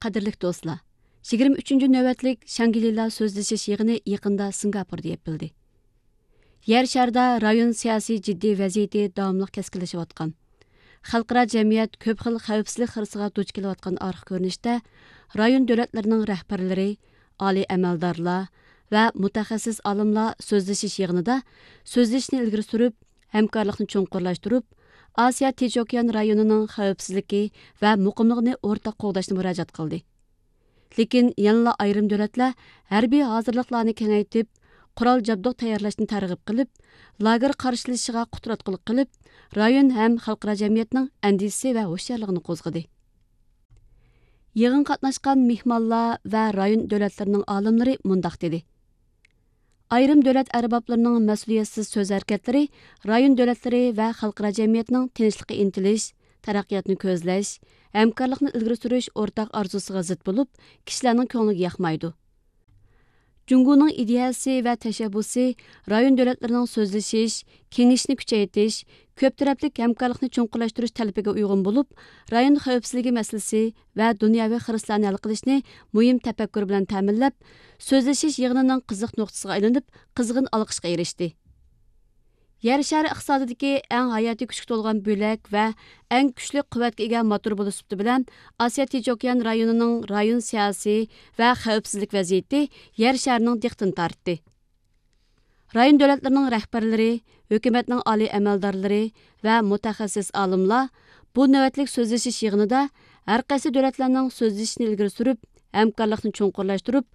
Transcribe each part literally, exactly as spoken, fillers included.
قەدىرلىك دوستلار، يىگىرمە ئۈچىنچى نۆۋەتلىك شاڭگرىلا سۆزلىشىش يىغىنى يېقىندا سىنگاپوردا يېپىلدى. يەر شارىدا رايون سىياسىي جىددىي ۋەزىيىتى داۋاملىق كەسكىنلىشىۋاتقان، خەلقئارا جەمئىيەت كۆپ خىل خەۋپسىزلىك خىرىسىغا دۇچ كېلىۋاتقان ئارقا كۆرۈنۈشتە، رايون دۆلەتلىرىنىڭ رەھبەرلىرى، ئالىي ئەمەلدارلار ۋە مۇتەخەسسىس ئالىملار سۆزلىشىش يىغىنىدا سۆزلىشىشنى ئىلگىرى سۈرۈپ، ھەمكارلىقنى چوڭقۇرلاشتۇرۇپ، ئاسىيا تىنچ ئوكيان رايونىنىڭ خەۋپسىزلىكى ۋە مۇقىملىقىنى ئورتاق قوغداشنى مۇراجىئەت قىلدى. لېكىن يەنىلا ئايرىم دۆلەتلەر ھەربىي ھازىرلىقلارنى كېڭەيتىپ، قورال جابدۇق تەييارلاشنى تەرغىب قىلىپ، لاگېر قارشىلىشىشىغا قۇتراتقۇلۇق قىلىپ، رايون ھەم خەلقئارا جەمئىيەتنىڭ ئەندىشىسى ۋە ھوشيارلىقىنى قوزغىدى. يىغىنغا قاتناشقان مېھمانلار ۋە رايون دۆلەتلىرىنىڭ ئالىملىرى مۇنداق دېدى: ئايرىم دۆلەت ئەربابلىرىنىڭ مەسئۇلىيەتسىز سۆز ھەرىكەتلىرى رايون دۆلەتلىرى ۋە خەلقئارا جەمئىيەتنىڭ تىنچلىققا ئىنتىلىش، تەرەققىياتنى كۆزلەش، ھەمكارلىقنى ئىلگىرى سۈرۈش ئورتاق ئارزۇسىغا زىت بولۇپ، كىشىلەرنىڭ كۆڭلىگە ياقمايدۇ. جۇڭگونىڭ ئىدىيەسى ۋە تەشەببۇسى رايون دۆلەتلىرىنىڭ سۆزلىشىش، كېڭىشىشنى كۈچەيتىش، كۆپ تەرەپلىك ھەمكارلىقنى چوڭقۇرلاشتۇرۇش تەلىپىگە ئۇيغۇن بولۇپ، رايون خەۋپسىزلىكى مەسىلىسى ۋە دۇنياۋى خىرىسلارنى ھەل قىلىشنى مۇھىم تەپەككۇر بىلەن تەمىنلەپ، سۆزلىشىش يىغىنىنىڭ قىزىق نۇقتىسىغا ئايلىنىپ، قىزغىن ئالقىشقا ئېرىشتى. يەر شارى ئىقتىسادىدىكى ئەڭ ھاياتىي كۈچكە تولغان بۆلەك ۋە ئەڭ كۈچلۈك قۇۋۋەتكە ئىگە موتور بولۇش سۈپىتى بىلەن، ئاسىيا تىنچ ئوكيان رايونىنىڭ رايون سىياسىي ۋە خەۋپسىزلىك ۋەزىيىتى يەر شارىنىڭ دىققىتىنى تارتتى. رايون دۆلەتلىرىنىڭ رەھبەرلىرى، ھۆكۈمەتنىڭ ئالىي ئەمەلدارلىرى ۋە مۇتەخەسسىس ئالىملار بۇ نۆۋەتلىك سۆزلىشىش يىغىنىدا ھەر قايسى دۆلەتلەرنىڭ سۆزلىشىشنى ئىلگىرى سۈرۈپ، ھەمكارلىقنى چوڭقۇرلاشتۇرۇپ،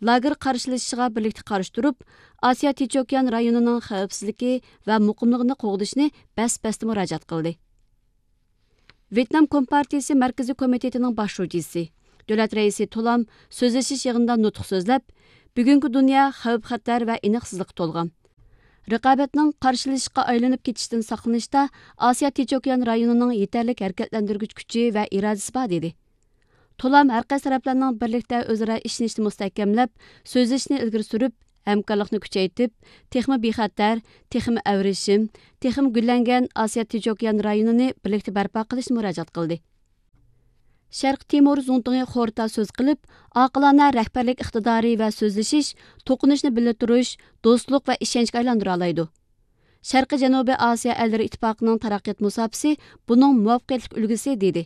لاگېر قارشىلىشىشىغا بىرلىكتە قارشى تۇرۇپ، ئاسىيا تىنچ ئوكيان رايونىنىڭ خەۋپسىزلىكى ۋە مۇقىملىقىنى قوغدىشىنى بەس-بەستە مۇراجىئەت قىلدى. ۋيېتنام كومپارتىيىسى مەركىزىي كومىتېتىنىڭ باش شۇجىسى، دۆلەت رەئىسى تولام سۆزلىشىش يىغىنىدا نۇتۇق سۆزلەپ، بۈگۈنكى دۇنيا خەۋپ-خەتەر ۋە ئېنىقسىزلىققا تولغان. رىقابەتنىڭ قارشىلىشىشقا ئايلىنىپ كېتىشتىن ساقلىنىشتا ئاسىيا تىنچ ئوكيان رايونىنىڭ يېتەرلىك ھەرىكەتلەندۈرگۈچ كۈچى ۋە ئىرادىسى بار، دېدى. تولام ھەر قايسى تەرەپلەرنىڭ بىرلىكتە ئۆزئارا ئىشىنىشىنى مۇستەھكەملەپ، سۆزلىشىشنى ئىلگىرى سۈرۈپ، ھەمكارلىقنى كۈچەيتىپ، تېخىمۇ بىخەتەر، تېخىمۇ ئەۋرىشىم، تېخىمۇ گۈللەنگەن ئاسىيا تىنچ ئوكيان رايونىنى بىرلىكتە بەرپا قىلىشنى مۇراجىئەت قىلدى. شەرقىي تىمور زۇڭتۇڭى خورتا سۆز قىلىپ، ئاقىلانە رەھبەرلىك ئىقتىدارى ۋە سۆزلىشىش، توقۇنۇشنى بىللە تۇرۇش، دوستلۇق ۋە ئىشەنچكە ئايلاندۇرالايدۇ. شەرقىي جەنۇبىي ئاسىيا ئەللىرى ئىتتىپاقىنىڭ تەرەققىيات مۇساپىسى بۇنىڭ مۇۋەپپەقىيەتلىك ئۈلگىسى، دېدى.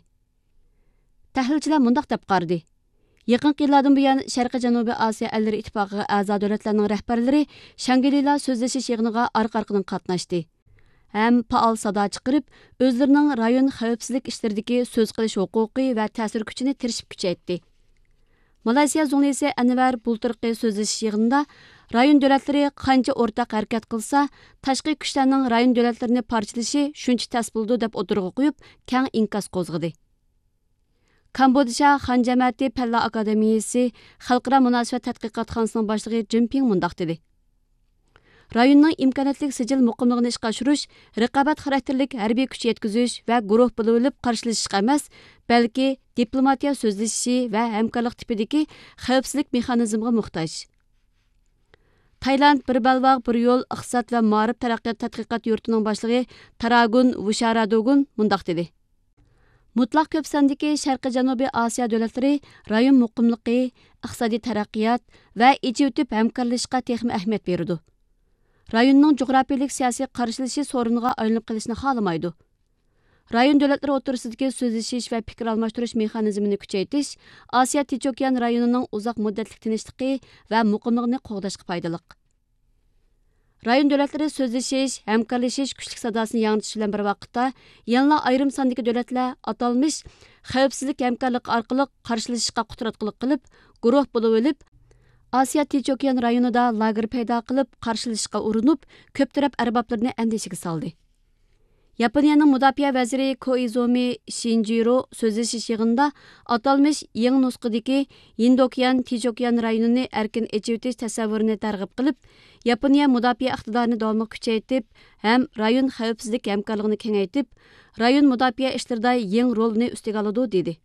تەھلىلچىلەر مۇنداق دەپ قارىدى: يېقىنقى يىللاردىن بۇيان، شەرقىي جەنۇبىي ئاسىيا ئەللىرى ئىتتىپاقىغا ئەزا دۆلەتلەرنىڭ رەھبەرلىرى شاڭگرىلا سۆزلىشىش يىغىنىغا ئارقا-ئارقىدىن قاتناشتى ھەم پائال سادا چىقىرىپ، ئۆزلىرىنىڭ رايون خەۋپسىزلىك ئىشلىرىدىكى سۆز قىلىش ھوقۇقى ۋە تەسىر كۈچىنى تىرىشىپ كۈچەيتتى. مالايسىيا زۇڭلىسى ئەنۋەر بۇلتۇرقى سۆزلىشىش يىغىنىدا، رايون دۆلەتلىرى قانچە ئورتاق ھەرىكەت قىلسا، تاشقى كۈچلەرنىڭ رايون دۆلەتلىرىنى پارچىلىشى شۇنچە تەس بولىدۇ، دەپ ئوتتۇرىغا قويۇپ، كەڭ ئىنكاس قوزغىدى. كامبودژا خان جەمەتى پەنلەر ئاكادېمىيىسى خەلقئارا مۇناسىۋەت تەتقىقاتخانىسىنىڭ باشلىقى جىن پىڭ مۇنداق دېدى: رايوننىڭ ئىمكانىيەتلىك سىجىل مۇقىملىقىنى ئىشقا ئاشۇرۇش رىقابەت خاراكتېرلىك ھەربىي كۈچ يەتكۈزۈش ۋە گۇرۇھ بولۇۋېلىپ قارشىلىشىشقا ئەمەس، بەلكى دىپلوماتىيە سۆزلىشىشى ۋە ھەمكارلىق تىپىدىكى خەۋپسىزلىك مېخانىزمىغا موھتاج. تايلاند بىر بەلباغ، بىر يول ئىقتىساد ۋە مائارىپ تەرەققىيات تەتقىقات يۇرتىنىڭ باشلىقى تاراگۇن ۋۇشارادوگۇن مۇنداق دېدى: مۇتلەق كۆپ ساندىكى شەرقىي جەنۇبىي ئاسىيا دۆلەتلىرى رايون مۇقىملىقى، ئىقتىسادىي تەرەققىيات ۋە ئېچىۋېتىپ ھەمكارلىشىشقا تېخىمۇ ئەھمىيەت بېرىدۇ. رايوننىڭ جۇغراپىيىلىك سىياسىي قارشىلىشىش سورۇنىغا ئايلىنىپ قېلىشنى خالىمايدۇ. رايون دۆلەتلىرى ئوتتۇرىسىدىكى سۆزلىشىش ۋە پىكىر ئالماشتۇرۇش مېخانىزمىنى كۈچەيتىش ئاسىيا تىنچ ئوكيان رايونىنىڭ ئۇزاق مۇددەتلىك تىنچلىقى ۋە مۇقىملىقىنى قوغداشقا پايدىلىق. رايون دۆلەتلىرى سۆزلىشىش، ھەمكارلىشىش كۈچلۈك ساداسىنى ياڭرىتىش بىلەن بىر ۋاقىتتا، يەنىلا ئايرىم ساندىكى دۆلەتلەر ئاتالمىش خەۋپسىزلىك ھەمكارلىقى ئارقىلىق قارشىلىشىشقا قۇتراتقۇلۇق قىلىپ، گۇرۇھ بولۇۋېلىپ، ئاسىيا تىنچ ئوكيان رايونىدا لاگېر پەيدا قىلىپ، قارشىلىشىشقا ئۇرۇنۇپ، كۆپ تەرەپ ئەربابلىرىنى ئەندىشىگە سالدى. ياپونىيەنىڭ مۇداپىئە ۋەزىرى كوئىزۇمى شىنجىرو سۆزلىشىش يىغىنىدا ئاتالمىش يېڭى نۇسخىدىكى ھىندى ئوكيان، تىنچ ئوكيان رايونىنى ئەركىن ئېچىۋېتىش تەسەۋۋۇرىنى تەرغىب قىلىپ، ياپونىيە مۇداپىئە ئىقتىدارىنى داۋاملىق كۈچەيتىپ ھەم رايون خەۋپسىزلىك ھەمكارلىقىنى كېڭەيتىپ، رايون مۇداپىئە ئىشلىرىدا يېڭى رولنى ئۈستىگە ئالىدۇ، دېدى.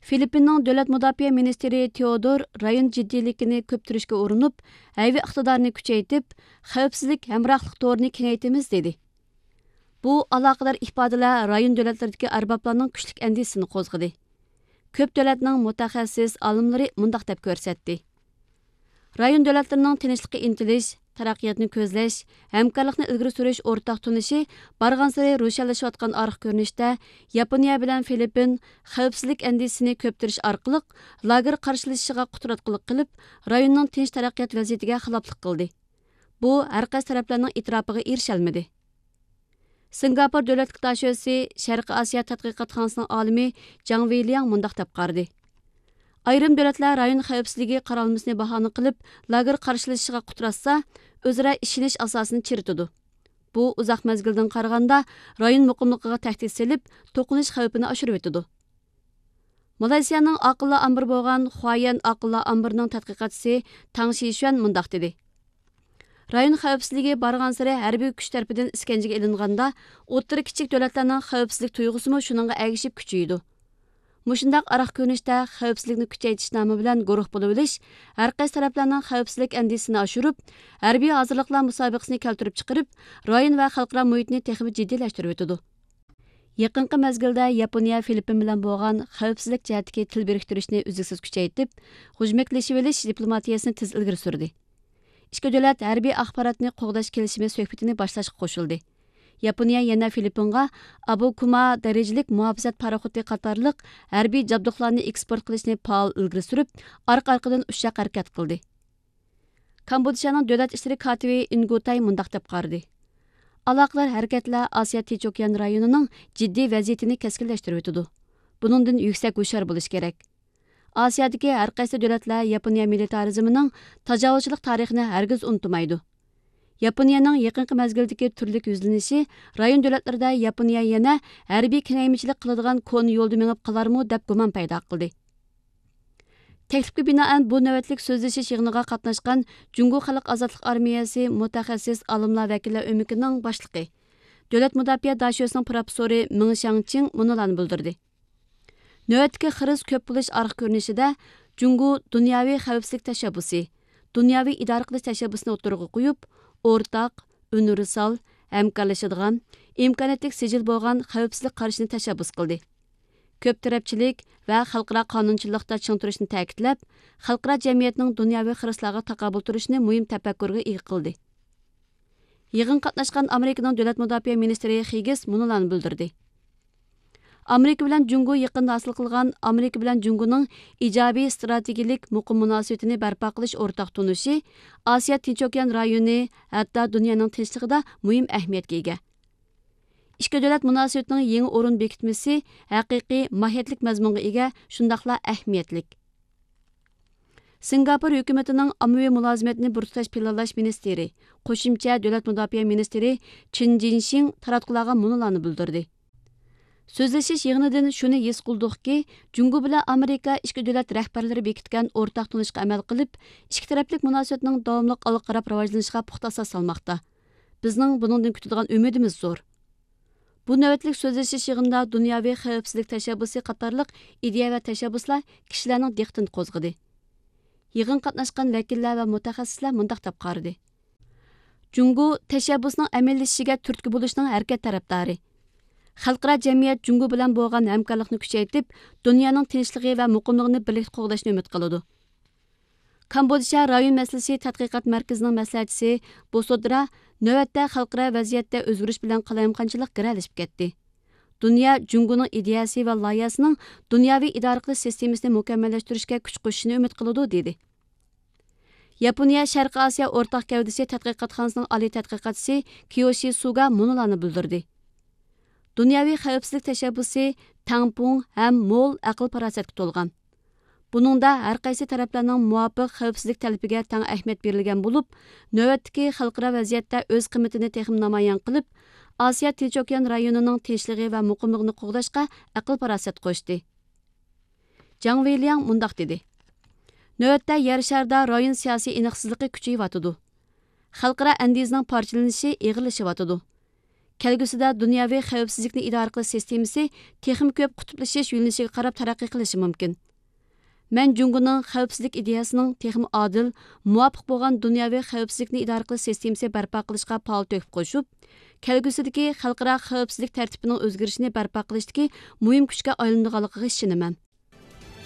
فىلىپپىننىڭ دۆلەت مۇداپىئە مىنىستىرى تېئودور رايون جىددىيلىكىنى كۆپتۈرۈشكە ئۇرۇنۇپ، ھەيۋە ئىقتىدارىنى كۈچەيتىپ، خەۋپسىزلىك ھەمراھلىق تورىنى كېڭەيتىمىز، دېدى. بۇ ئالاقىدار ئىپادىلەر رايون دۆلەتلىرىدىكى ئەربابلارنىڭ كۈچلۈك ئەندىشىسىنى قوزغىدى. كۆپ دۆلەتنىڭ مۇتەخەسسىس ئالىملىرى مۇنداق دەپ كۆرسەتتى: رايون دۆلەتلىرىنىڭ تىنچلىققا ئىنتىلىش، تەرەققىياتنى كۆزلەش، ھەمكارلىقنى ئىلگىرى سۈرۈش ئورتاق تونۇشى بارغانسېرى روشەنلىشىۋاتقان ئارقا كۆرۈنۈشتە، ياپونىيە بىلەن فىلىپپىن خەۋپسىزلىك ئەندىشىسىنى كۆپتۈرۈش ئارقىلىق، لاگېر قارشىلىشىشىغا قۇتراتقۇلۇق قىلىپ، رايوننىڭ تىنچ تەرەققىيات ۋەزىيىتىگە خىلاپلىق قىلدى. بۇ ھەر قايسى تەرەپلەرنىڭ ئېتىراپىغا ئېرىشەلمىدى. سىنگاپور دۆلەتلىك داشۆسى شەرقىي ئاسىيا تەتقىقاتخانىسىنىڭ ئالىمى جاڭ ۋېيلياڭ مۇنداق دەپ قارىدى: ئايرىم دۆلەتلەر رايون خەۋپسىزلىكى قارالمىسىنى باھانە قىلىپ، لاگېر قارشىلىشىشىغا قۇتراتسا، ئۆزئارا ئىشىنىش ئاساسىنى چىرىتىدۇ. بۇ ئۇزاق مەزگىلدىن قارىغاندا، رايون مۇقىملىقىغا تەھدىت سېلىپ، توقۇنۇش خەۋپىنى ئاشۇرۇۋېتىدۇ. مالايسىيانىڭ ئاقىللار ئامبىرى بولغان خۇايەن ئاقىللار ئامبىرىنىڭ تەتقىقاتچىسى تاڭ شىشۈەن مۇنداق دېدى: رايون خەۋپسىزلىكى بارغانسېرى ھەربىي كۈچ تەرىپىدىن ئىسكەنجىگە ئېلىنغاندا، ئوتتۇرا كىچىك دۆلەتلەرنىڭ خەۋپسىزلىك تۇيغۇسىمۇ شۇنىڭغا ئەگىشىپ كۈچىيىدۇ. مۇشۇنداق ئارقا كۆرۈنۈشتە خەۋپسىزلىكنى كۈچەيتىش نامى بىلەن گۇرۇھ بولۇۋېلىش ھەر قايسى تەرەپلەرنىڭ خەۋپسىزلىك ئەندىشىسىنى ئاشۇرۇپ، ھەربىي ھازىرلىقلار مۇسابىقىسىنى كەلتۈرۈپ چىقىرىپ، رايون ۋە خەلقئارا مۇھىتنى تېخىمۇ جىددىيلەشتۈرۈۋېتىدۇ. يېقىنقى مەزگىلدە ياپونىيە فىلىپپىن بىلەن بولغان خەۋپسىزلىك جەھەتتىكى تىل بىرىكتۈرۈشنى ئۈزلۈكسىز كۈچەيتىپ، غۇژمەكلىشىۋېلىش دىپلوماتىيىسىنى تېز ئىلگىرى سۈردى. ئىككى دۆلەت ھەربىي ئاخباراتنى قوغداش كېلىشىمى سۆھبىتىنى باشلاشقا قوشۇلدى. ياپونىيە يەنە فىلىپپىنغا ئابۇكۇما دەرىجىلىك مۇھاپىزەت پاراخوتى قاتارلىق ھەربىي جابدۇقلارنى ئېكسپورت قىلىشنى پائال ئىلگىرى سۈرۈپ، ئارقا-ئارقىدىن ئۇششاق ھەرىكەت قىلدى. كامبودژانىڭ دۆلەت ئىشلىرى كاتىپى ئىنگۇتاي مۇنداق دەپ قارىدى: ئالاقىدار ھەرىكەتلەر ئاسىيا تىنچ ئوكيان رايونىنىڭ جىددىي ۋەزىيىتىنى كەسكىنلەشتۈرۈۋېتىدۇ. بۇنىڭدىن يۈكسەك ھوشيار بولۇش كېرەك. ئاسىيادىكى ھەر قايسى دۆلەتلەر ياپونىيە مىلىتارىزمىنىڭ تاجاۋۇزچىلىق تارىخىنى ھەرگىز ئۇنتۇمايدۇ. ياپونىيەنىڭ يېقىنقى مەزگىلدىكى تۈرلۈك يۈزلىنىشى رايون دۆلەتلىرىدە ياپونىيە يەنە ھەربىي كېڭەيمىچىلىك قىلىدىغان كونا يولدا مېڭىپ قالارمۇ دەپ گۇمان پەيدا قىلدى. تەكلىپكە بىنائەن، بۇ نۆۋەتلىك سۆزلىشىش يىغىنىغا قاتناشقان جۇڭگو خەلق ئازادلىق ئارمىيەسى مۇتەخەسسىس ئالىملار ۋەكىللەر ئۆمىكىنىڭ باشلىقى، دۆلەت مۇداپىئە داشۆسىنىڭ پروفېسسورى مېڭ شياڭچىڭ مۇنۇلارنى بىلدۈردى: نۆۋەتتىكى خىرىس كۆپ بولۇش ئارقا كۆرۈنۈشىدە، جۇڭگو دۇنياۋى خەۋپسىزلىك تەشەببۇسى، دۇنياۋى ئىدارە قىلىش تەشەببۇسىنى ئوتتۇرىغا قويۇپ، ئورتاق، ئۇنىۋېرسال، ھەمكارلىشىدىغان، ئىمكانىيەتلىك سىجىل بولغان خەۋپسىزلىك قارىشىنى تەشەببۇس قىلدى. كۆپ تەرەپچىلىك ۋە خەلقئارا قانۇنچىللىقتا چىڭ تۇرۇشنى تەكىتلەپ، خەلقئارا جەمئىيەتنىڭ دۇنياۋى خىرىسلارغا تاقابىل تۇرۇشىنى مۇھىم تەپەككۇرغا ئىگە قىلدى. يىغىنغا قاتناشقان ئامېرىكىنىڭ دۆلەت مۇداپىئە مىنىستىرى خىگگىس مۇنۇلارنى بىلدۈردى: ئامېرىكا بىلەن جۇڭگو يېقىندا ھاسىل قىلغان ئامېرىكا بىلەن جۇڭگونىڭ ئىجابىي ئىستراتېگىيىلىك مۇقىم مۇناسىۋىتىنى بەرپا قىلىش ئورتاق تونۇشى ئاسىيا تىنچ ئوكيان رايونى، ھەتتا دۇنيانىڭ تىنچلىقىدا مۇھىم ئەھمىيەتكە ئىگە. ئىككى دۆلەت مۇناسىۋىتىنىڭ يېڭى ئورۇن بېكىتمىسى ھەقىقىي ماھىيەتلىك مەزمۇنغا ئىگە، شۇنداقلا ئەھمىيەتلىك. سىنگاپور ھۆكۈمىتىنىڭ ئاممىۋى مۇلازىمەتنى بىر تۇتاش پىلانلاش مىنىستىرى، قوشۇمچە دۆلەت مۇداپىئە مىنىستىرى چېن جىنشىڭ تاراتقۇلارغا مۇنۇلارنى بىلدۈردى: سۆزلىشىش يىغىنىدىن شۇنى ھېس قىلدۇقكى، جۇڭگو بىلەن ئامېرىكا ئىككى دۆلەت رەھبەرلىرى بېكىتكەن ئورتاق تونۇشقا ئەمەل قىلىپ، ئىككى تەرەپلىك مۇناسىۋەتنىڭ داۋاملىق ئالغا قاراپ راۋاجلىنىشىغا پۇختا ئاساس سالماقتا. بىزنىڭ بۇنىڭدىن كۈتىدىغان ئۈمىدىمىز زور. بۇ نۆۋەتلىك سۆزلىشىش يىغىنىدا دۇنياۋى خەۋپسىزلىك تەشەببۇسى قاتارلىق ئىدىيە ۋە تەشەببۇسلار كىشىلەرنىڭ دىققىتىنى قوزغىدى. يىغىنغا قاتناشقان ۋەكىللەر ۋە مۇتەخەسسىسلەر مۇنداق دەپ قارىدى: جۇڭگو تەشەببۇسنىڭ ئەمەلىيلىشىشىگە تۈرتكە بولۇشنىڭ ھەرىكەت تەرەپدارى. خەلقئارا جەمئىيەت جۇڭگو بىلەن بولغان ھەمكارلىقنى كۈچەيتىپ، دۇنيانىڭ تىنچلىقى ۋە مۇقىملۇقىنى بىرلىكتە قوغداشنى ئۈمىد قىلىدۇ. كامبودژا رايون مەسىلىسى تەتقىقات مەركىزىنىڭ مەسلىھەتچىسى بوسودرا نۆۋەتتە خەلقئارا ۋەزىيەتتە ئۆزگىرىش بىلەن قالايمىقانچىلىق گىرەلىشىپ كەتتى. دۇنيا جۇڭگونىڭ ئىدىيەسى ۋە لايىھەسىنىڭ دۇنياۋى ئىدارە قىلىش سىستېمىسىنى مۇكەممەللەشتۈرۈشكە كۈچ قوشۇشىنى ئۈمىد قىلىدۇ، دېدى. ياپونىيە شەرقىي ئاسىيا ئورتاق گەۋدىسى تەتقىقاتخانىسىنىڭ ئالىي تەتقىقاتچىسى كىيوشى سۇگا مۇنۇلارنى بىلدۈردى: دۇنياۋى خەۋپسىزلىك تەشەببۇسى تەڭپۇڭ ھەم مول ئەقىل-پاراسەتكە تولغان. بۇنىڭدا ھەر قايسى تەرەپلەرنىڭ مۇۋاپىق خەۋپسىزلىك تەلىپىگە تەڭ ئەھمىيەت بېرىلگەن بولۇپ، نۆۋەتتىكى خەلقئارا ۋەزىيەتتە ئۆز قىممىتىنى تېخىمۇ نامايان قىلىپ، ئاسىيا تىنچ ئوكيان رايونىنىڭ تىنچلىقى ۋە مۇقىملىقىنى قوغداشقا ئەقىل-پاراسەت قوشتى. جاڭ ۋېيلياڭ مۇنداق دېدى: نۆۋەتتە يەر شارىدا رايون سىياسىي ئېنىقسىزلىقى كۈچىيىۋاتىدۇ. خەلقئارا ئەندىزىنىڭ پارچىلىنىشى ئېغىرلىشىۋاتىدۇ. كەلگۈسىدە دۇنياۋى خەۋپسىزلىكنى ئىدارە قىلىش سىستېمىسى تېخىمۇ كۆپ قۇتۇپلىشىش يۆنىلىشىگە قاراپ تەرەققىي قىلىشى مۇمكىن. مەن جۇڭگونىڭ خەۋپسىزلىك ئىدىيەسىنىڭ تېخىمۇ ئادىل، مۇۋاپىق بولغان دۇنياۋى خەۋپسىزلىكنى ئىدارە قىلىش سىستېمىسى بەرپا قىلىشقا پائال تۆھپە قوشۇپ، كەلگۈسىدىكى خەلقئارا خەۋپسىزلىك تەرتىپىنىڭ ئۆزگىرىشىنى بەرپا قىلىشتىكى مۇھىم كۈچكە ئايلىنىدىغانلىقىغا ئىشىنىمەن.